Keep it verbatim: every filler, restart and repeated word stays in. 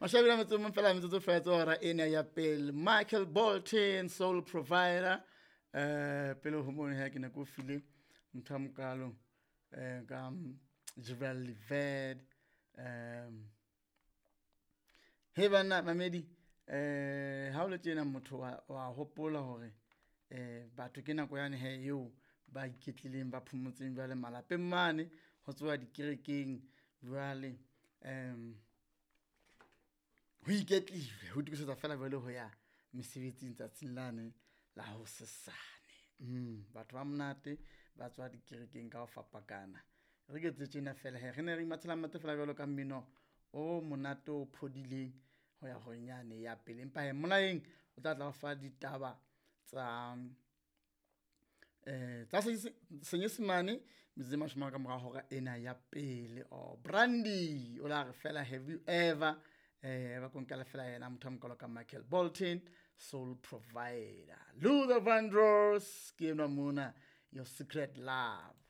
Mashabela motse mong fela metsotso fela tse hora ena ya pele. Michael Bolton, Soul Provider. Eh pele ho mono he ke ne ke o file ntho ya mokalo eh ka Jivel Lived. Um he banna mamedi eh ha o le tjena motho wa wa hopola hore eh batho ke nako yane he eo ba iketlileng ba phomotseng jwale malapeng mane ho tsoha dikerekeng jwale um ho iketlile ho itokisetsa fela jwale ho ya mesebetsing tsatsing lane la hosesane. Mm, batho ba monate ba tswa dikerekeng ka ho fapakana. Re ke etse tjena fela he, re ne re imathela mathe fela jwalo ka mmino o monate o phodileng ho ya horeng yane ya pele. Empa hee Molaeng o tla tla o fa ditaba tsa eh tsa Senyesemane metsotso e mashome ka mora hora ena ya pele. Oh Brandy o la re fela have you ever eh ba ko nkela fela yena motho a mokalo ka Michael Bolton, Soul Provider. Luther Vandross ke enwa mona, Your Secret Love.